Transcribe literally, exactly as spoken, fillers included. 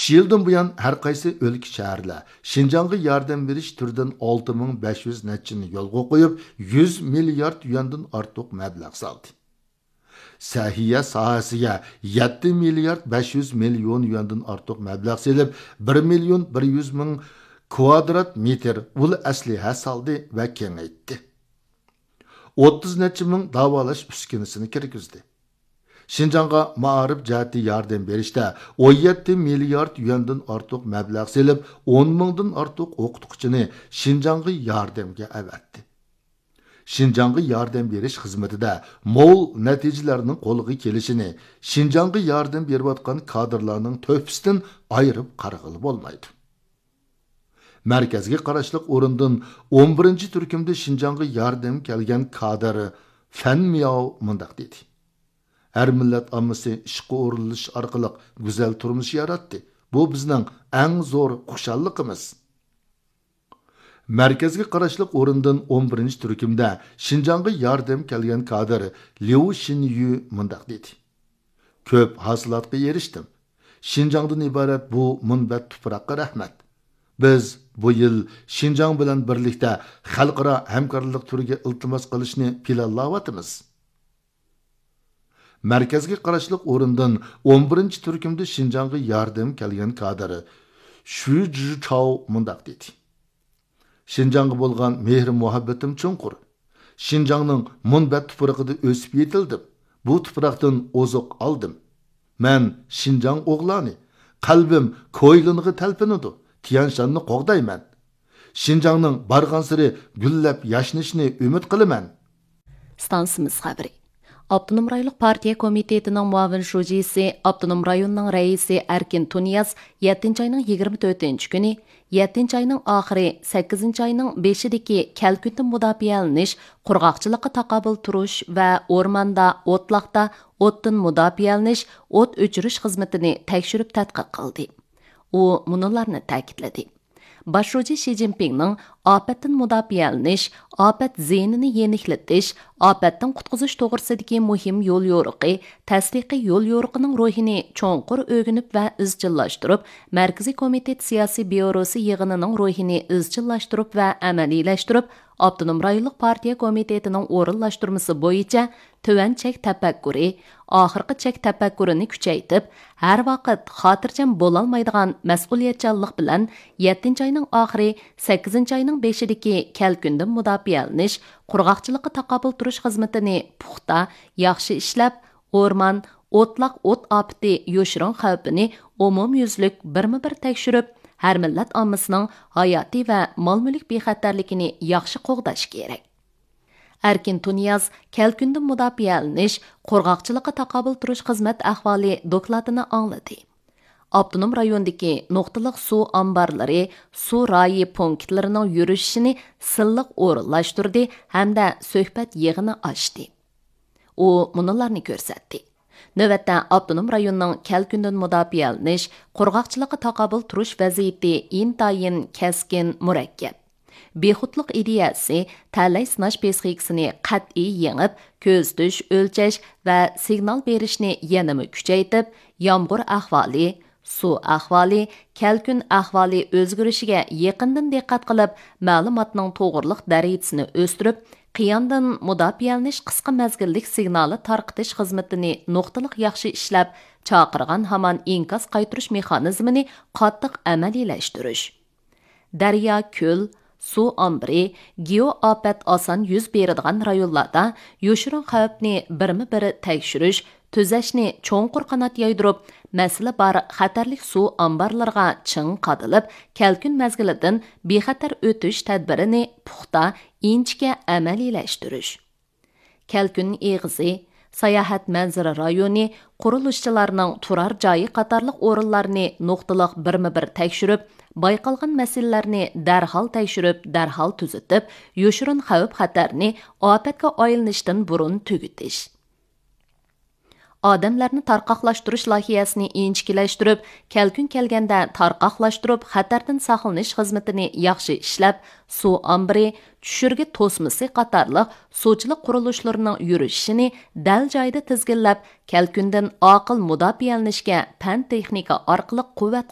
ئىككى يىلدىن بۇيان، ھەر قايسى ئۆلكە، شەھەرلەر شىنجاڭغا ياردەم بېرىش تۈرىدىن ئالتە مىڭ بەش يۈز نەچچىنى يولغا قويۇپ، يۈز مىليارد يۈەندىن ئارتۇق مەبلەغ سالدى. سەھىيە ساھەسىگە يەتتە مىليارد بەش يۈز مىليون يۈەندىن ئارتۇق مەبلەغ سېلىپ، بىر مىليون بىر يۈز مىڭ كۋادرات مېتىر ئۇل ئەسلىھە سالدى ۋە كېڭەيتتى. ئوتتۇز نەچچە مىڭ داۋالاش ئۈسكۈنىسىنى كىرگۈزدى. شىنجاڭغا مائارىپ جەھەتتە ياردەم بېرىشتە ئون يەتتە مىليارد يۈەندىن ئارتۇق مەبلەغ سېلىپ، ئون مىڭدىن ئارتۇق ئوقۇتقۇچىنى شىنجاڭغا ياردەمگە ئەۋەتتى. شىنجاڭغا ياردەم بېرىش خىزمىتىدە مول نەتىجىلەرنىڭ قولغا كېلىشىنى شىنجاڭغا ياردەم بېرىۋاتقان كادىرلارنىڭ تۆھپىسىدىن ئايرىپ قارىغىلى بولمايدۇ. مەركەزگە قاراشلىق ئورۇندىن ئون بىرىنچى تۈركۈمدە شىنجاڭغا ياردەم كەلگەن كادىر فەن مياۋ مۇنداق دېدى: ھەر مىللەت ئاممىسى ئىشقا ئورۇنلىشىش ئارقىلىق گۈزەل تۇرمۇش ياراتتى. بۇ بىزنىڭ ئەڭ زور خۇشاللىقىمىز. مەركەزگە قاراشلىق ئورۇندىن ئون بىرىنچى تۈركۈمدە شىنجاڭغا ياردەم كەلگەن كادىر ليۇ شىنيۈ مۇنداق دېدى: كۆپ ھاسىلاتقا ئېرىشتىم. شىنجاڭدىن ئىبارەت بۇ مۇنبەت تۇپراققا رەھمەت. بىز بۇ يىل شىنجاڭ بىلەن بىرلىكتە خەلقئارا ھەمكارلىق تۈرىگە ئىلتىماس قىلىشنى پىلانلاۋاتىمىز. مەركەزگە قاراشلىق ئورۇندىن ئون بىرىنچى تۈركۈمدە شىنجاڭغا ياردەم كەلگەن كادىر شۈ جىچاۋ مۇنداق دېدى: شىنجاڭغا بولغان مېھرى مۇھەببىتىم چوڭقۇر. شىنجاڭنىڭ مۇنبەت تۇپرىقىدا ئۆسۈپ يېتىلدىم. بۇ تۇپراقتىن ئوزۇق ئالدىم. مەن شىنجاڭ ئوغلانى. قەلبىم كويلىنغا تەلپۈنىدۇ. تيەنشاننى قوغدايمەن. شىنجاڭنىڭ بارغانسېرى گۈللەپ ياشنىشىنى ئۈمىد قىلىمەن. ئىستانسىمىز خەۋىرى. ئاپتونوم رايونلۇق پارتىيە كومىتېتىنىڭ مۇئاۋىن شۇجىسى، ئاپتونوم رايوننىڭ رەئىسى ئەركىن تۇنىياز يەتتىنچى ئاينىڭ يىگىرمە تۆتىنچى كۈنى، يەتتىنچى ئاينىڭ ئاخىرى، سەككىزىنچى ئاينىڭ بېشىدىكى كەلكۈندىن مۇداپىئەلىنىش، قۇرغاقچىلىققا تاقابىل تۇرۇش ۋە ئورماندا، ئوتلاقتا ئوتتىن مۇداپىئەلىنىش، ئوت ئۆچۈرۈش خىزمىتىنى تەكشۈرۈپ تەتقىق قىلدى. ئۇ مۇنۇلارنى تەكىتلىدى. باش شۇجى شى جىنپىڭنىڭ ئاپەتتىن مۇداپىئەلىنىش، ئاپەت زىيىنىنى يېنىكلىتىش، ئاپەتتىن قۇتقۇزۇش توغرىسىدىكى مۇھىم يوليورۇقى، تەستىقىي يوليورۇقىنىڭ روھىنى چوڭقۇر ئۆگىنىپ ۋە ئىزچىللاشتۇرۇپ، مەركىزىي كومىتېت سىياسىي بيۇروسى يىغىنىنىڭ روھىنى ئىزچىللاشتۇرۇپ ۋە ئەمەلىيلەشتۈرۈپ، ئاپتونوم رايونلۇق پارتىيە كومىتېتىنىڭ ئورۇنلاشتۇرمىسى بويىچە تۆۋەن چەك تەپەككۇرى، ئاخىرقى چەك تەپەككۇرىنى كۈچەيتىپ، ھەر ۋاقىت خاتىرجەم بولالمايدىغان مەسئۇلىيەتچانلىق بىلەن يەتتىنچى ئاينىڭ ئاخىرى، سەككىزىنچى ئاينىڭ بېشىدىكى كەلكۈندىن مۇداپىئەلىنىش، قۇرغاقچىلىققا تاقابىل تۇرۇش خىزمىتىنى پۇختا، ياخشى ئىشلەپ، ئورمان، ئوتلاق ئوت ئاپىتى يوشۇرۇن خەۋپىنى ئومۇميۈزلۈك بىرمۇ بىر تەكشۈرۈپ، ھەر مىللەت ئاممىسىنىڭ ھاياتىي ۋە مال-مۈلۈك بىخەتەرلىكىنى ياخشى قوغداش كېرەك. ئەركىن تۇنىياز كەلكۈندىن مۇداپىئەلىنىش، قۇرغاقچىلىققا تاقابىل تۇرۇش خىزمەت ئەھۋالى دوكلاتىنى ئاڭلىدى. ئاپتونوم رايوندىكى نۇقتىلىق سۇ ئامبارلىرى، سۇ رايى پونكىتلىرىنىڭ يۈرۈشۈشىنى سىنلىق ئورۇنلاشتۇردى ھەمدە سۆھبەت يىغىنى ئاچتى. ئۇ مۇنۇلارنى كۆرسەتتى. نۆۋەتتە ئاپتونوم رايوننىڭ كەلكۈندىن مۇداپىئەلىنىش، قۇرغاقچىلىققا تاقابىل تۇرۇش ۋەزىيىتى ئىنتايىن كەسكىن، مۇرەككەپ. بىخۇدلۇق ئىدىيەسى تەلەي سىناش پسىخىكىسىنى قەتئىي يېڭىپ، كۆزىتىش، ئۆلچەش ۋە سىگنال بېرىشنى يەنىمۇ كۈچەيتىپ، يامغۇر ئەھۋالى، سۇ ئەھۋالى، كەلكۈن ئەھۋالى ئۆزگىرىشىگە يېقىندىن دىققەت قىلىپ، مەلۇماتنىڭ توغرىلىق دەرىجىسىنى ئۆستۈرۈپ، قىياندىن مۇداپىئەلىنىش قىسقا مەزگىللىك سىگنالى تارقىتىش خىزمىتىنى نۇقتىلىق ياخشى ئىشلەپ، چاقىرغان ھامان ئىنكاس قايتۇرۇش مېخانىزمىنى قاتتىق ئەمەلىيلەشتۈرۈش. دەريا، كۆل، سۇ ئامبىرى، گېئو ئاپەت ئاسان يۈز بېرىدىغان رايونلاردا يوشۇرۇن خەۋپنى بىرمۇ بىر تەكشۈرۈش، تۈزەشنى چوڭقۇر قانات يايدۇرۇپ، مەسىلە بار خەتەرلىك سۇ ئامبارلىرىغا چىڭ قادىلىپ، كەلكۈن مەزگىلىدىن بىخەتەر ئۆتۈش تەدبىرىنى پۇختا، ئىنچىكە ئەمەلىيلەشتۈرۈش. كەلكۈن ئېغىزى، ساياھەت مەنزىرە رايونى، قۇرۇلۇشچىلارنىڭ تۇرار جايى قاتارلىق ئورۇنلارنى نۇقتىلىق بىرمۇ بىر تەكشۈرۈپ، بايقالغان مەسىلىلەرنى دەرھال تەكشۈرۈپ، دەرھال تۈزىتىپ، يوشۇرۇن خەۋپ خەتەرنى ئاپەتكە ئايلىنىشتىن بۇرۇن تۈگىتىش. ئادەملەرنى تارقاقلاشتۇرۇش لايىھەسىنى ئىنچىكىلەشتۈرۈپ، كەلكۈن كەلگەندە تارقاقلاشتۇرۇپ، خەتەردىن ساقلىنىش خىزمىتىنى ياخشى ئىشلەپ، سۇ ئامبىرى، چۈشۈرگە توسمىسى قاتارلىق سۇچىلىق قۇرۇلۇشلىرىنىڭ يۈرۈشۈشىنى دەل جايىدا تىزگىنلەپ، كەلكۈندىن ئاقىل مۇداپىئەلىنىشكە پەن تېخنىكا ئارقىلىق قۇۋۋەت